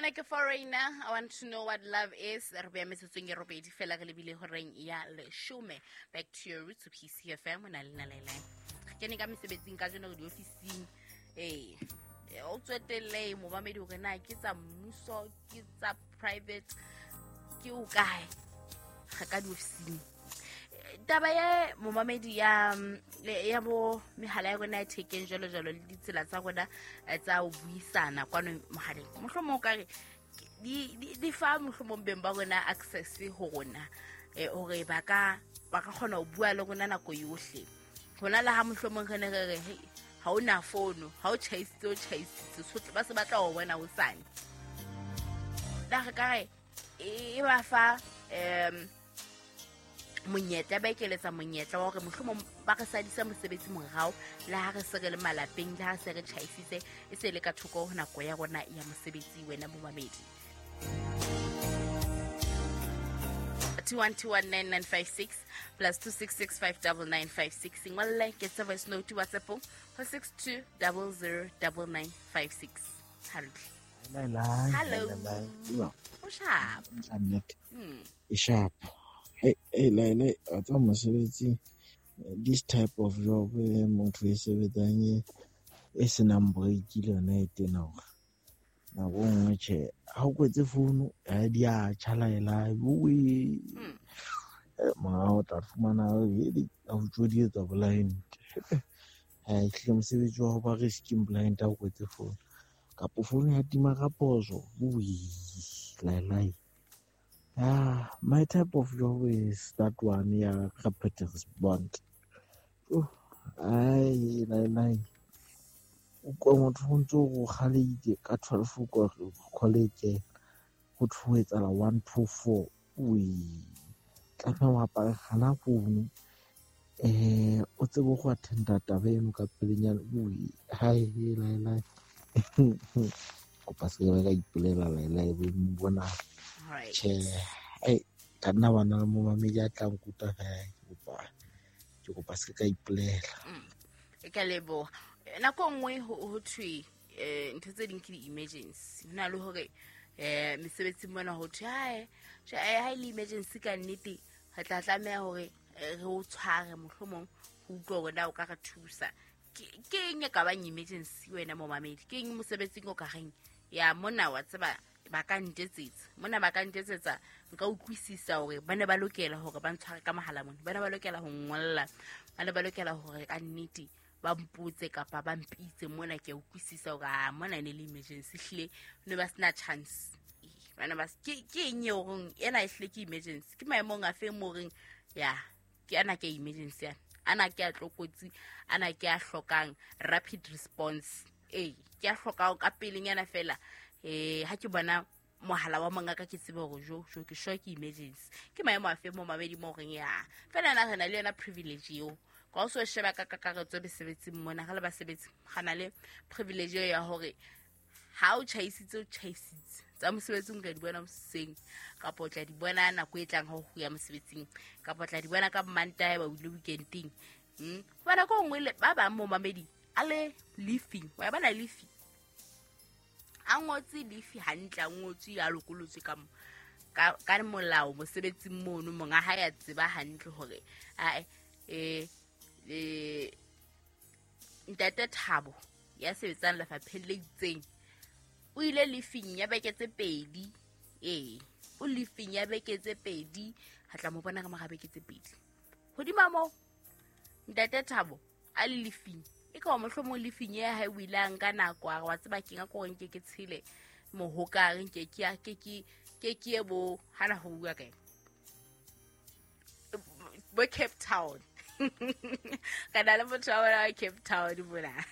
Ona ke Foreigner, I Want to Know What Love Is. Re beya metsotsong e robedi fela re lebile horeng ya leshome. Back to your roots, PCFM, o na le nalele. Re kene ka mesebetsing ka jeno re diofising. Ee, o tswetelle momamedi hore na ke tsa mmuso, ke tsa private, ke o kae. Re ka diofising. Taba ya momamedi ya bo mehala ya rona ya thekeng jwalo jwalo le ditsela tsa rona tsa ho buisana kwano mohaleng, mohlomong o ka re di fa mohlomong beng ba rona access ho rona, hore ba ka kgona ho bua le rona nako yohle. Hona le ha mohlomong re ne re re hey, ha o na fono, ha o tjhaisitse, o tjhaisitse, sohle ba se batla ho bona hosane. Na re ka re e ba fa monyetla, ba ekeletsa monyetla wa hore mohlomong ba re sadisa mosebetsi morao, le ha re se re le malapeng, le ha se re tjhaisitse, e se le ka thoko ho nako ya rona ya mosebetsi. Wena momamedi, 21219956 plus 266599956, ngolle ke tse voice note WhatsApp ho 62009956. Hantle. Hello. O sharp. E sharp. Hey, hey, Laila, a tsa mosebetsi, this type of job motho e sebetsang e senang break le yona e tena hore nako e nngwe tjhe, ha o kwetse founu ha di a tjha Laila, oe. Morao o tla fumana a o tjodietsa blind. Ha ehlile mosebetsi wa ho ba risking blind ha o kwetse founu. Kapo founu ya tima ka phoso, oe, Laila. My type of job is that one, yeah, rapid response. Oh, ai, Laila. O kwa motho o ntso o kgaleile ka 12 o college ho thwe etsahala 1 2 4. Ui, tlameha o apare gana founu, o tsebe go attenda taba eno ka pelenyana. Ui, hai, Laila. Kopa se ka ipolela Laila e be bona. Tjhe, ai, ka nna bana le momamedi a tla nkuta ke kopa se ka ipolela. E ka leboha. Nako nngwe ho thwe ntho tse ding ke di-emergency. Ho na le hore mesebetsing mona ho thwe hae, tjhe, ha e le emergency ka nnete re tla tlameha hore re o tshware mohlomong ho utlwa hore na o ka re thusa. Ke eng e ka bang emergency wena momamedi? Ke eng mosebetsing o ka reng ya mona wa tseba ba ka ntetsetsa, mona ba ka ntetsetsa, nka utlwisisa hore ba ne ba lokela hore ba ntshware ka mohala mona, ba ne ba lokela ho ngolla, ba ne ba lokela hore ka nnete ba mpotse kapa ba mpitse mona, ke a utlwisisa hore a mona ne le emergency, hlile ne ba sena chance. Ba ne ba ke eng eo horeng ena e hlile ke emergency? Ke maemong a feng mo horeng ya ke ana ke emergency ana, ana ke a tlokotsi, ana ke a hlokang rapid response, ee ke a hlokang ka pelenyana fela. Ha ke bona mohala wa mongaka ke tsebe hore jo jo ke sure ke emergency. Ke maemo a feng mo mamedi mo horeng ya fela na re na le yona privilege eo? Ka o so sheba ka kakaretso mesebetsing mona, re le basebetsi ga na le privilege eo ya hore ha o tjhaisitse, o tjhaisitse tsa mosebetsing o tla di bona hoseng, kapa o tla di bona nako e tlang ha o ya mosebetsing, kapa o tla di bona ka Mantaha ba o ile weekending. Hoba nako e nngwe le ba bang mo mamedi a le leafing, wa bona leafing a ngotse leafi hantle, a ngotswe a lokolotswe ka molao mosebetsing mono, monga ha ya tseba hantle hore ae ntate Thabo ya sebetsang lefapheng le itseng o ile leafing ya beke tse pedi, ee o leafing ya beke tse pedi, ha tla mo bona ka mora beke tse pedi. Hodima moo ntate Thabo a le leafing, e ka mohlomong leafing ya hae o ile a nka nako a re wa tseba keng a ko nke ke tshele mohokare, nke ke ya, ke ke, ke ke ye bo hana ho bua kae bo Cape Town. Ka na le motho wa bona wa Cape Town mona.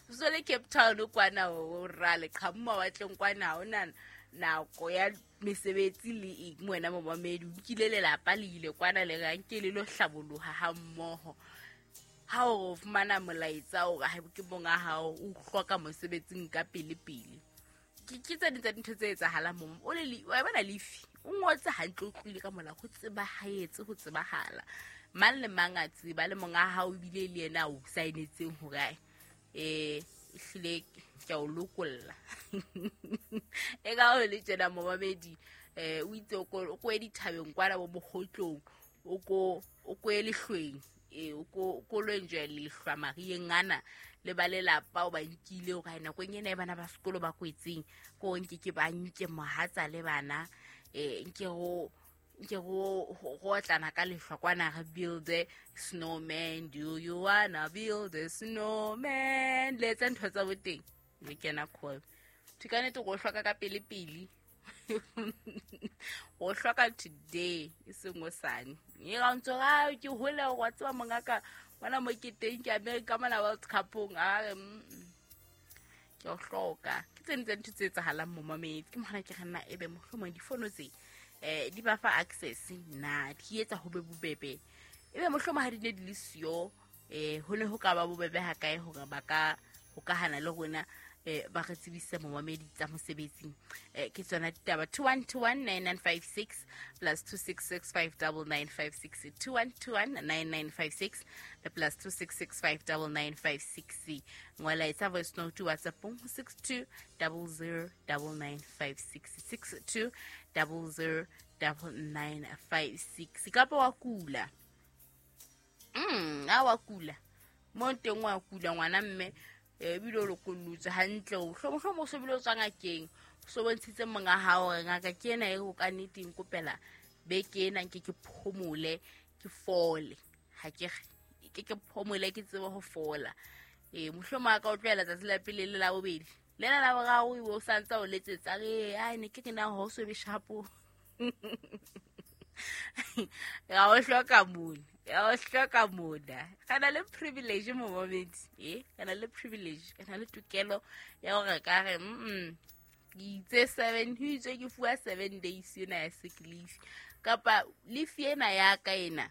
So le Cape Town kwana o ra le qhamu mawatleng kwana, ha ona nako ya mesebetsi le eng wena momamedi, o nkile lelapa le ile kwana le re nke le lo hlaboloha ha mmoho. Ha o fumana molaetsa o re ha ke monga hao o hloka mosebetsing ka pele pele. Ke tse ding tsa dintho tse etsahalang mo. O le wa bona lefi, o ngotse hantle, o tlohile ka molao, ho tsebahaetse, ho tsebahala. Mang le mang a tseba, le monga hao ebile le yena o saenetseng hore ae, ehlile ke a o lokolla. E ka ho le tjena momamedi, o itse o ko dithabeng kwana bo mokgotlong, o ko lehlweng, o ko lo enjoy lehlwa marieng ana le ba lelapa o ba nkile hore nakong ena e bana ba sekolo ba kwetseng ko nke ke ba nke mohatsa le bana, nke go otlana ka lehlwa kwana re build a snowman, do you wanna build a snowman, le etsa ntho tsa boteng le kena call. Ka nnete go hloka ka pele pele, go hloka today e seng hosane. E ga ntso ga ke hole go tseba mongaka bona mo ke teng ke America mona World Cupong, a re ke o hloka. Ke tsene tse ntho tse etsahalang mo mamedi, ke mogana ke re nna ebe mohlomong difono tse di ba fa access na di etsa ho be bobebe, ebe mohlomong ha di ne di le siyo ho ne ho ka ba bobebe ha kae hore ba ka hokahana le rona, ba re tsebise momamedi tsa mosebetsing. Ke tsona ditaba. 21219956 plus 26659956, 21219956 le plus 26659956. Ngola etsa voice note WhatsApp 62009956, 62009956. Kapa wa kula, a wa kula mo teng, wa kula ngwana mme ebile o lokollotse hantle, o hlomohlomo o so bile o tswa ngakeng, o so bontshitse monga hao hore ngaka ke ena e go ka nnete nkopela beke ena nke ke phomole ke fole, ha ke ke phomole ke tsebe ho fola. Mohlomong a ka o tlohela tsatsi la pele le la bobedi lena la boraro ebe o santse o letsetsa re ai ne ke re na ho so be shapo. Ga o hloka mona, ga o hloka mona. Ga na le privilege mo momedi, ga na le privilege, ga na le tokelo ya hore ka re ke itse 7, ho itse ke fuwa 7 days ena ya sick leave, kapa leave ena ya ka ena,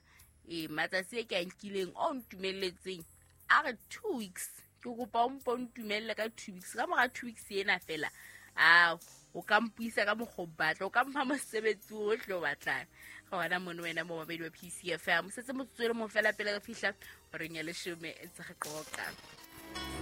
matsatsi e ke a nkileng o ntumelletseng a re 2 weeks, ke kopa o mpo ntumelle ka 2 weeks. Ka mora 2 weeks ena fela a o ka mpuisa ka mokgwa o batla, o ka mpha mosebetsi ohle o batlang. Ga wena mono wena mo mabedi wa PCFM, setse motsotso le mo fela pele re fihla horeng ya 10 ntse re qoqa.